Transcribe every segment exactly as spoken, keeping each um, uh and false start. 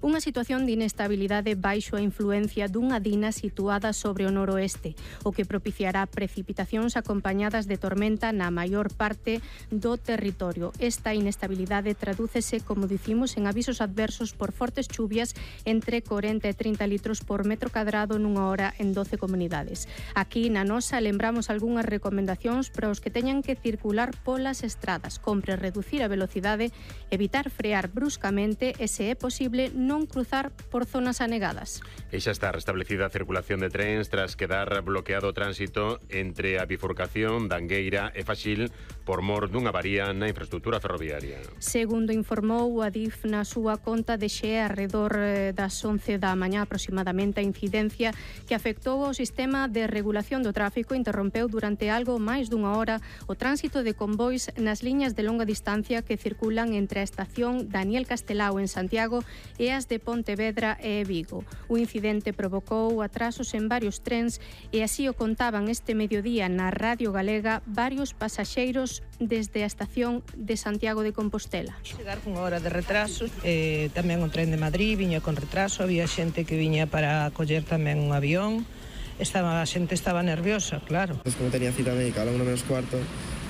unha situación de inestabilidade baixo a influencia dunha dina situada sobre o noroeste, o que propiciará precipitacións acompañadas de tormenta na maior parte do territorio. Esta inestabilidade tradúcese, como dicimos, en avisos adversos por fortes chuvias entre corenta e trinta litros por metro cadrado nunha hora en doce comunidades. Aquí na nosa lembramos algunhas recomendacións para os que teñan que circular polas estradas. Compre reducir a velocidade, evitar frear bruscamente e, se é posible, posible non cruzar por zonas anegadas. E xa está restablecida a circulación de trens tras quedar bloqueado o tránsito entre a bifurcación da Angueira e Faxil por mor dunha avaría na infraestructura ferroviaria. Segundo informou a DIF na súa conta de xe arredor das once da mañá aproximadamente, a incidencia que afectou ao sistema de regulación do tráfico interrompeu durante algo máis dunha hora o tránsito de convois nas liñas de longa distancia que circulan entre a estación Daniel Castelao en Santiago e as de Pontevedra e Vigo. O incidente provocou atrasos en varios trens e así o contaban este mediodía na Radio Galega varios pasaxeiros desde a estación de Santiago de Compostela. Chegar con hora de retraso, eh, tamén o tren de Madrid viña con retraso, había xente que viña para coller tamén un avión. Estaba, a xente estaba nerviosa, claro. Pues como tenía cita médica a la una menos cuarto,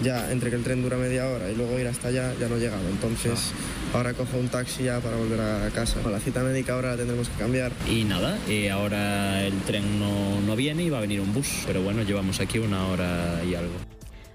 ya entre que el tren dura media hora y luego ir hasta allá, ya no llegaba. Entonces ah. ahora cojo un taxi ya para volver a casa. La cita médica ahora la tendremos que cambiar. Y nada, y ahora el tren no, no viene y va a venir un bus. Pero bueno, llevamos aquí una hora y algo.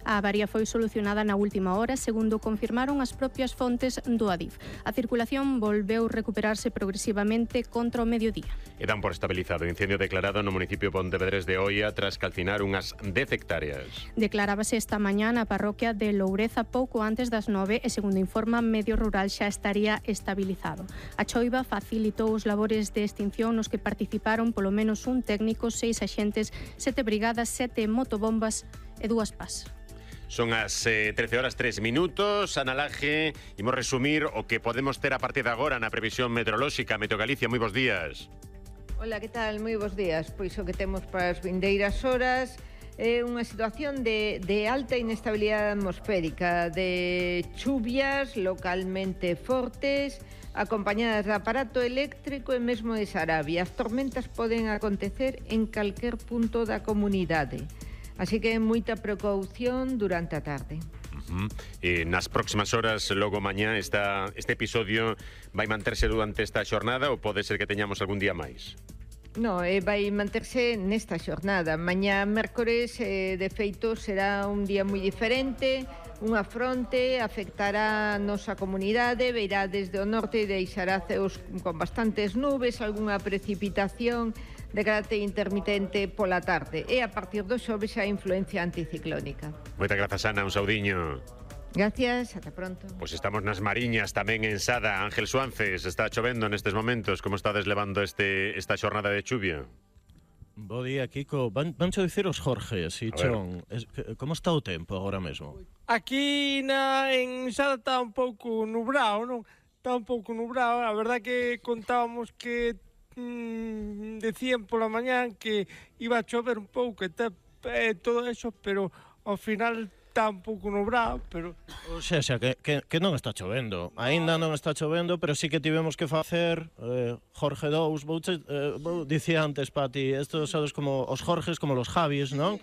A avaría foi solucionada na última hora, segundo confirmaron as propias fontes do Adif. A circulación volveu recuperarse progresivamente contra o mediodía. E dan por estabilizado o incendio declarado no municipio pontevedrés de Oia tras calcinar unhas dez hectáreas. Declarábase esta mañá na parroquia de Loureza pouco antes das nove e, segundo informa Medio Rural, xa estaría estabilizado. A choiva facilitou os labores de extinción nos que participaron polo menos un técnico, seis axentes, sete brigadas, sete motobombas e dúas pás. Son as eh, trece horas tres minutos. Ana Laje, imos resumir o que podemos ter a partir de agora na previsión meteorolóxica. Meteo Galicia, moi bons días. Hola, que tal? Moi bons días. Pois o que temos para as vindeiras horas é unha situación de, de alta inestabilidade atmosférica, de chuvias localmente fortes, acompañadas de aparato eléctrico e mesmo de Sarabia. As tormentas poden acontecer en calquer punto da comunidade. Así que moita precaución durante a tarde. Uh-huh. E nas próximas horas, logo mañá, esta, este episodio vai manterse durante esta xornada ou pode ser que teñamos algún día máis? No, eh, vai manterse nesta xornada. Mañá, mércores, eh, de feito, será un día moi diferente. Unha fronte afectará a nosa comunidade, veirá desde o norte e deixará ceos con bastantes nubes, algunha precipitación de carácter intermitente pola tarde. E a partir do xoves a influencia anticiclónica. Moitas grazas, Ana, un saudiño. Gracias, ata pronto. Pois pues estamos nas Mariñas, tamén en Sada. Ángel Suances, está chovendo nestes momentos. Como estades levando este, esta xornada de chuvia? Bo día, Kiko. Van, vancho dicir os Jorges, e Chon. Es, como está o tempo agora mesmo? Aquí na, en Sada está un pouco nubrado, non? Está un pouco nubrado. A verdad que contábamos que mmm, decían pola mañán que iba a chover un pouco e eh, todo eso, pero ao final está un pouco nubrado, pero... O sea, xa, que, que, que non está chovendo. Aínda non está chovendo, pero sí que tivemos que facer eh, Jorge dous, vou, eh, vou dicía antes, Pati, estos sabes como os Jorges, como los Javis, non?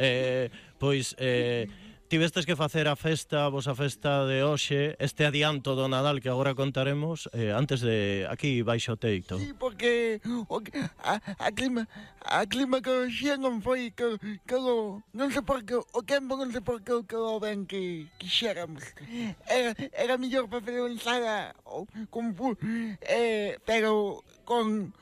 Eh, pois... Eh, tivestes que facer a festa, vos a festa de hoxe, este adianto do Nadal que agora contaremos, eh, antes de aquí baixo o teito. Sí, porque o, a, a clima a clima que xe non foi que, que lo, non sei por que o tempo non sei por que que o ben que quixéramos. Era, era mellor para fazer ensada con eh, pero con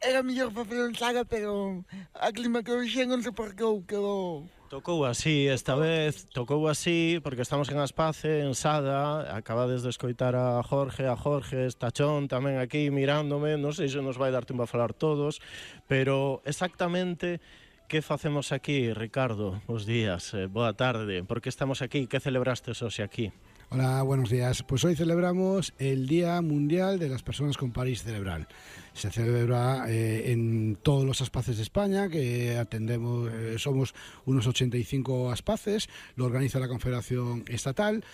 era mellor para fazer ensada, pero a clima que xe non sei por que que o Tocou así esta vez, tocou así, porque estamos en Aspace, en Sada, acabades de escoitar a Jorge, a Jorge, Estachón tamén aquí mirándome, non sei se nos vai dar tempo a falar todos, pero exactamente que facemos aquí, Ricardo? Bos días, eh, boa tarde, por que estamos aquí, que celebrastes hoxe aquí? Hola, buenos días. Pues hoy celebramos el Día Mundial de las Personas con Parálisis Cerebral. Se celebra eh, en todos los aspaces de España, que atendemos, eh, somos unos ochenta y cinco aspaces, lo organiza la Confederación Estatal,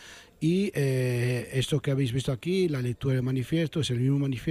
y eh, esto que habéis visto aquí, la lectura del manifiesto, es el mismo manifiesto